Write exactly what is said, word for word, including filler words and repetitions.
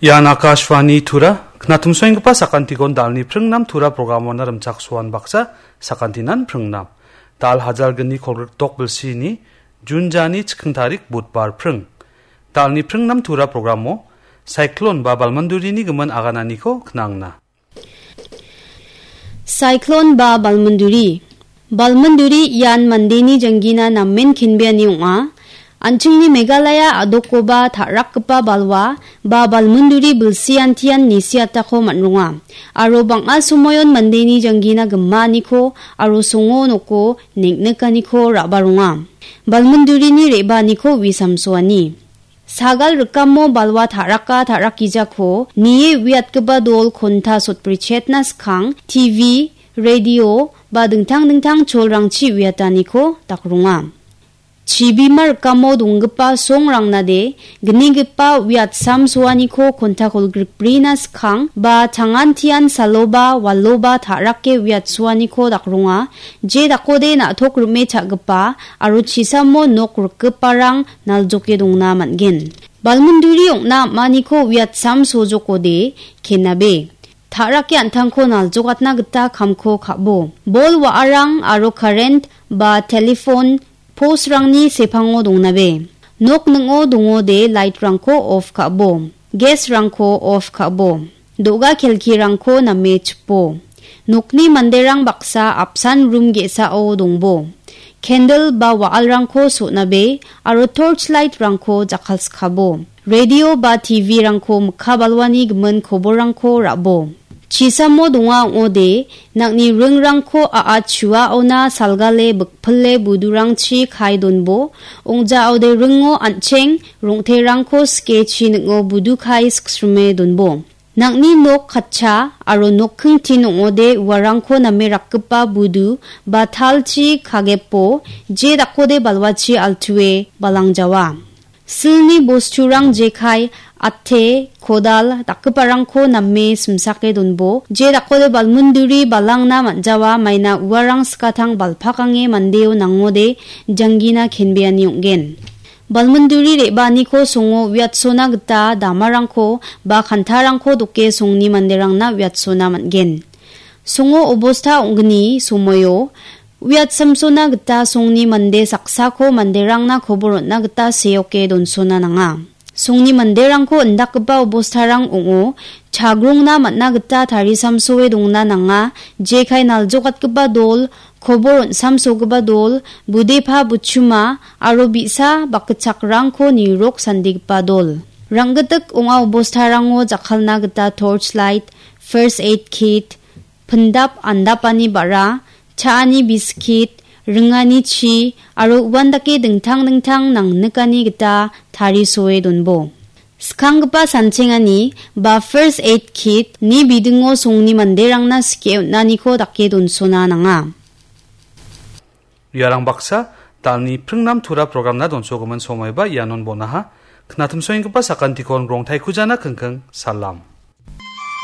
Ian Akashvani Tura, knatumsoenggipa sakantikon dalni pringnam Tura programona rimchaksoan baksa sakantinan pringnam. Dal hajalgni kolgrikdok bilsini Jun jani chikking tarik Budbar pring. Dalni pringnam Tura programo Cyclone ba balmandurini gimin agananiko knangna. Cyclone ba balmunduri. Balmunduri ian mandeni janggina namen kenbeani ong·a. An·chingni Meghalaya a·dokoba ta·rakgipa balwa ba balmunduri bilsiantian nisiatako man·ronga. Aro bang·a somoion mandeni janggina gimaaniko aro songo noko neng·nikaniko ra·baronga. Balmundurini re·baaniko wi samsoani. Sagal rikamo balwa ta·raka ta·rakgijako nie uiatgipa dol konta sotbrichetna skang T V, radio ba dingtang dingtang cholrangchi uiataniko dakronga. Chibima rikamo donggipa songrangnade gnigipa uiatsamsoaniko konta kolgrikbrina skang ba tangantian saloba waloba ta·rake uiatsoaniko dakronga. Je dakode na·tok rime cha·gipa aro chisamo nok rikgiparang naljoke dongna man·gen. Balmunduri ong·na am·aniko uiatsam sojokode kenabe. Ta·rake an·tangko naljokatna gita kamko ka·bo. Bol wa·arang aro current ba telephone postrangni sepango dongnabe. Nok ning·o dongode lightrangko off ka·bo. Gasrangko off ka·bo. Do·ga kelkirangko name chipo. Nokni manderang baksa apsan rum ge·sao dongbo. Candle ba wa·alrangko so·nabe aro torch lightrangko jakkalskabo. Radio ba T V-rangko mikka balwani gimin koborrangko ra·bo. Chisamo donga ong·ode, nang·ni ringrangko a·a chuaona salgale bikpile budurangchi kae donbo, ong·jaode ringo an·cheng rong·terangko skechi ning·o budu kae siksrime donbo. Nang·ni nok katcha aro nokkingtin ong·ode uarangko name rakgipa budu ba talchi kagepo, je dakode balwachi altue balangjawa. Silni bosturang jekai, ate, kodal dakgiparangko name simsake donbo, je dakode balmunduri balangna man·jawa maina uarang skatang balpakange mandeo nangode janggina kenbeani ong·gen. Balmunduri re·baaniko songo uiatsona gita damarangko ba kantarangko doke songni manderangna uiatsona man·gen. Songo obosta ong·gni somoio uiatsamsona gita songni mande saksako manderangna kobor on·na gita seoke donsona nanga. Songni manderangko indakgipa obostarang ong·o, chagrongna man·na gita tarisamsoe dongna nanga, jekai naljokatgipa dol, kobor on·samsogipa dol, budepa buchuma, aro bi·sa bakgitchakrangko nirok sandigipa dol. Ranggitik ong·a obostarango jakkalna gita torch light, first aid kit, pindap andapani ba·ra, cha·ani biskit, ringani chi, aro uandake dingtang dingtang nangnikani gita tarisoe donbo. Skanggipa sanchengani ba first aid kit ni bidingo songni manderangna skie on·aniko dake donsona nanga. Iarang baksa, dalni pringnam tura programna donsogimin somoiba ianon bonaha. Knatimsoenggipa sakantikon rongtaikujana kingking, salam.